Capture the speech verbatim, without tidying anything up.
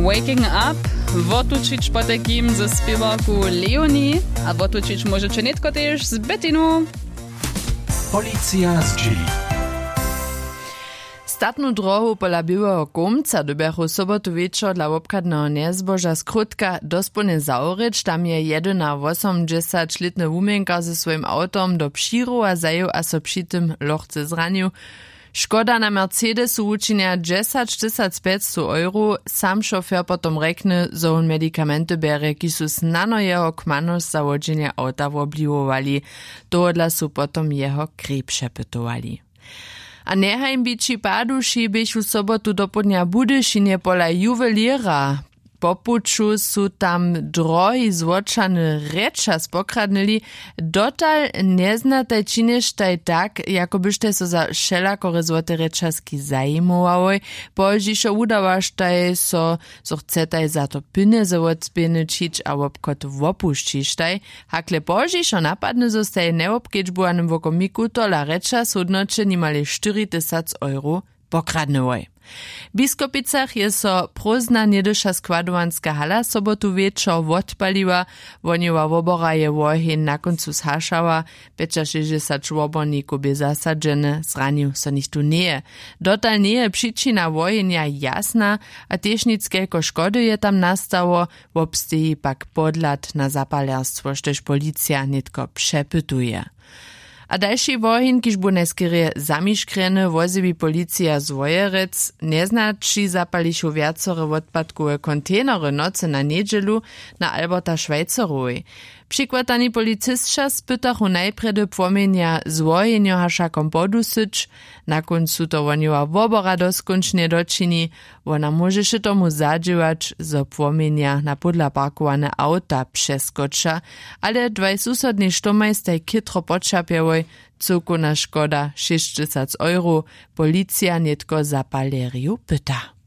Waking up, wotučić potajkim ze spěwarku Leonie. A wotučić móžeće nětko tež z Bettinu. Policija zdźěli. Statnu drohu pola běłeho kołmca dyrbjachu sobotu wječor dla wobchadneho njezboža skrótka dospołnje zawrěć. Tam je jedynawosomadźesaćlětny wuměnkar ze swojim awtom do přirowa zajěł a so při tym lochce zranił. Škoda na mercedesu wučinja dźesaćtysacpjećstow euro. Sam šofjer potom rjekny, zo wón medikamenty bjerje, kiž su snano jeho kmanosć za wodźenje awta wobliwowali. Tohodla su potom jeho krej přepytowali. A njehajnbići paduši běchu sobotu dopołdnja w Budyšinje pola juwelěra. Po puću su tam drohi złóčany rěčas pokradnyli. Dotal njeznataj činještaj tak, jako byštaj so za wšelakore złote rěčaski zajimowałoj. Pozdźišo wudawaštaj so, zo chcetaj za to pjenjezy wotspěnyćić a wobchod wopušćištaj. Hakle pozdźišo napadny, zo staj w njewobkedźbowanym wokomiku tola rěčas w hódnoće nimale štyri tysac euro pokradnyłoj. W Biskopicach je so prózdna něhdyša składowanska hala sobotu wječor wotpaliła. Wohnjowa wobora je woheń na kóncu zhašała. Pjećašěsćdźesać wobornikow bě zasadźeny, zranił so nichtó njeje. Dotal njeje přičina wohenja jasna, a tež nic kelko škody je tam nastało. Wobsteji pak podhlad na zapalerstwo, štož policija nětko přepytuje. A dalši woheń, kiž bu najskerje zamiškrjeny, wozjewi policija z Wojerec. Njeznaći zapalichu wjacore wotpadkowe kontejnery nocy na njedźelu na Alberta Schweizerowej. Přikwatani policisća spytachu najprjedy płomjenja z wohenjohašakom podusyć. Na kóncu to wohnjowa wobora doskónčnje dočini. Wona móžeše tomu zadźěłać, zo płomjenja na pódla parkowane awta přeskoča. Ale dwaj susodnej štomaj staj chětro poćerpjałoj. Cyłkowna škoda šěsćtysac euro. Policija nětko zapalerjow pyta.